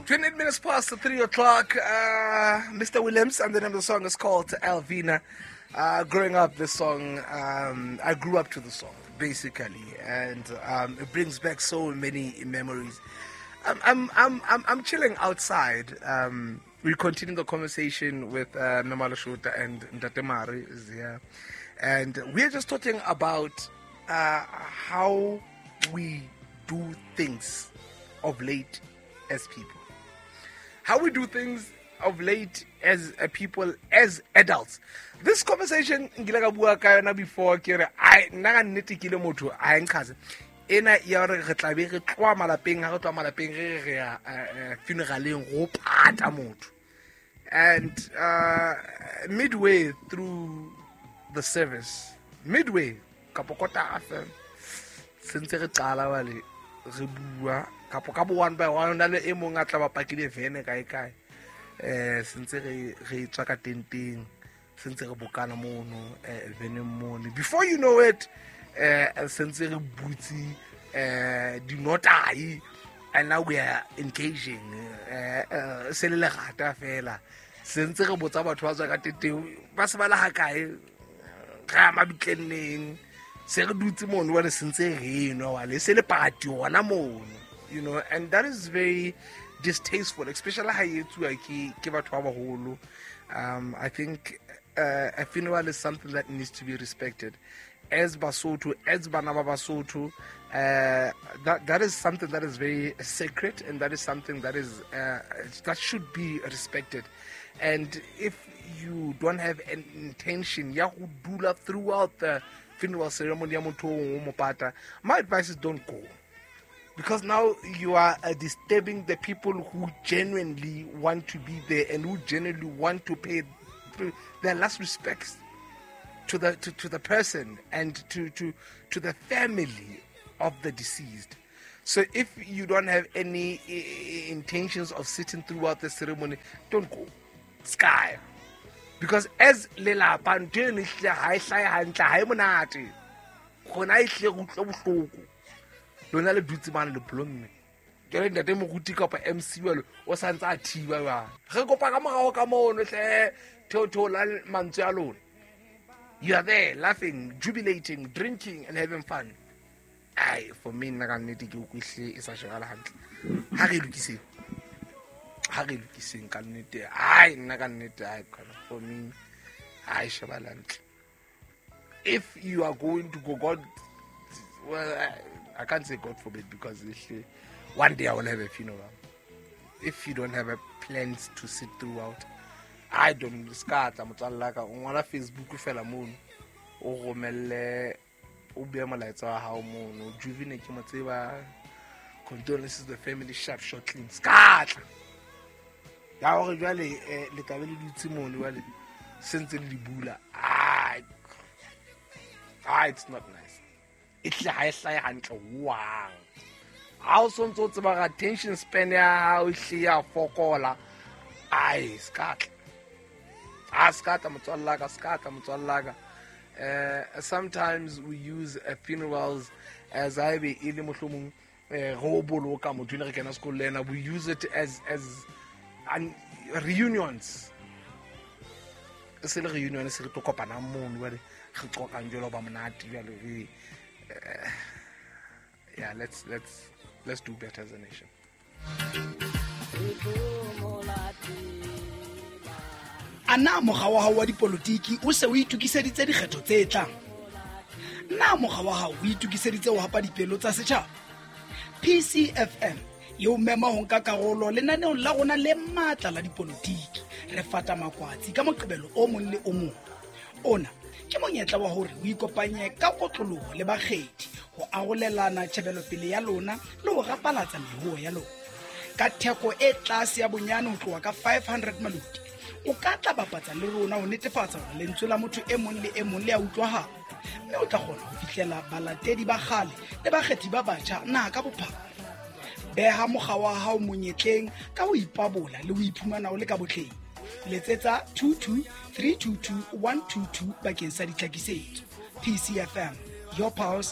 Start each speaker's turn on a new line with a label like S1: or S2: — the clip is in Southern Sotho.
S1: 28 minutes past 3 o'clock. Mr. Williams, and the name of the song is called Alvina. Growing up, this song, I grew up to the song, basically, and it brings back so many memories. I'm chilling outside. We continue the conversation with Memalo Shota and Ntate is here. And we're just talking about how we do things of late as people. How we do things of late as a people, as adults. This conversation nkile ka bua ka yona before, ke re ai nna ka nnete ke le motho a e nkgase ena ya gore re tlabe re tloa malapeng, ha re tloa malapeng re ya funeraleng go pata motho, and midway through the service, midway kapo kota afe sentse re qala wale re bua kapo ka bo one by one na le e mong a tla ba pakile vene kae kae, sentse re tswa ka tenteng, sentse re bokana mono veneng mono, before you know it sentse re butse dinotai, and now we are engaging se le lerata fela, sentse re botsa batho ba tswa ka tenteng ba se ba le ha kae, re ya mabitleng neng, se re dutse mono wa le sentse re nwa wa le se le party hona mono, you know, and that is very distasteful, especially ha e etsuwa ke batho ba baholo. I think a funeral is something that needs to be respected. As Basotho, as bana ba Basotho, that is something that is very sacred, and that is something that is that should be respected. And if you don't have an intention ya ho dula throughout the funeral ceremony ya motho o mo pata, my advice is don't go. Because now you are disturbing the people who genuinely want to be there and who genuinely want to pay their last respects to the person and to the family of the deceased. So if you don't have any intentions of sitting throughout the ceremony, don't go. Sky. Because as lelapa ntho eno ehlile ha e hlahe hantle, ha e monate. Gona e hlile re utlwa bohloko. Lona le dutse mane le blomme. Jwale ntate moruti kapa MC jwalo o sa ntse a thiba jwale. Re kopa ka morao ka mono hle, theotheola mantswe a lona. You are there laughing, jubilating, drinking and having fun. Ai, for me nna ka nnete ke utlwe e sa shebala hantle. Ha re lokiseng. Ha re lokiseng ka nnete. Ai, nna ka nnete, ai, for me ha e shebala hantle. If you are going to go, God, well, I can't say God forbid, because one day I will have a funeral. If you don't have a plans to sit throughout, I don't ska tla motswalla ka o ngola Facebook fela mono, o romelle, o bue molaetsa wa hao mono, Juvine ke mo tseba, condolences to the family, sharp short clean, ska tla. Ya hore jwale le tla be le dutse mono jwale sentse le di bula. It's not nice. E tle ha e hlahe hantle hohang. Ha o sontso o tseba ga attention span ya hao e hle ya fokola. Ai, ska tla. Ah, ska tla motswalla ka, ska tla motswalla ka. Sometimes we use funerals as I be e le mohlomong go boloka motho ne re kena sekolo le ena. We use it as reunions. Se le reunion se re tlo kopana mono jwale re qoqang jwalo ba monate jwale re yeah, let's do better as a nation.
S2: Ana mokga wa hao wa dipolotiki o se o itokiseditse dikgetho tse tlang? Na mokga wa hao o itokiseditse ho hapa dipelo tsa setjhaba? PCFM e o mema ho nka karolo lenaneong la rona le matla la dipolotiki. Re fata makwatsi ka Moqebelo o mong le o mong. Ona ke monyetla wa hore o ikopanye ka kotloloho le bakgethi ho arolelana tjhebelopele ya lona le ho rapalatsa meruo ya lona. Ka theko e tlase ya bonyane ho tloha ka 500 maloti, o ka tla bapatsa le rona ho netefatsa hore lentswe la motho e mong le e mong le a utlwahala, mme o tla kgona ho fihlela balatedi ba kgale le bakgethi ba batjha naha ka bophara. Beha mokga wa hao monyetleng ka ho ipabola le ho iphumana o le ka botleng. Letsetsa 22 322 122 bakeng sa ditlhakisetso. PCFM, your pulse.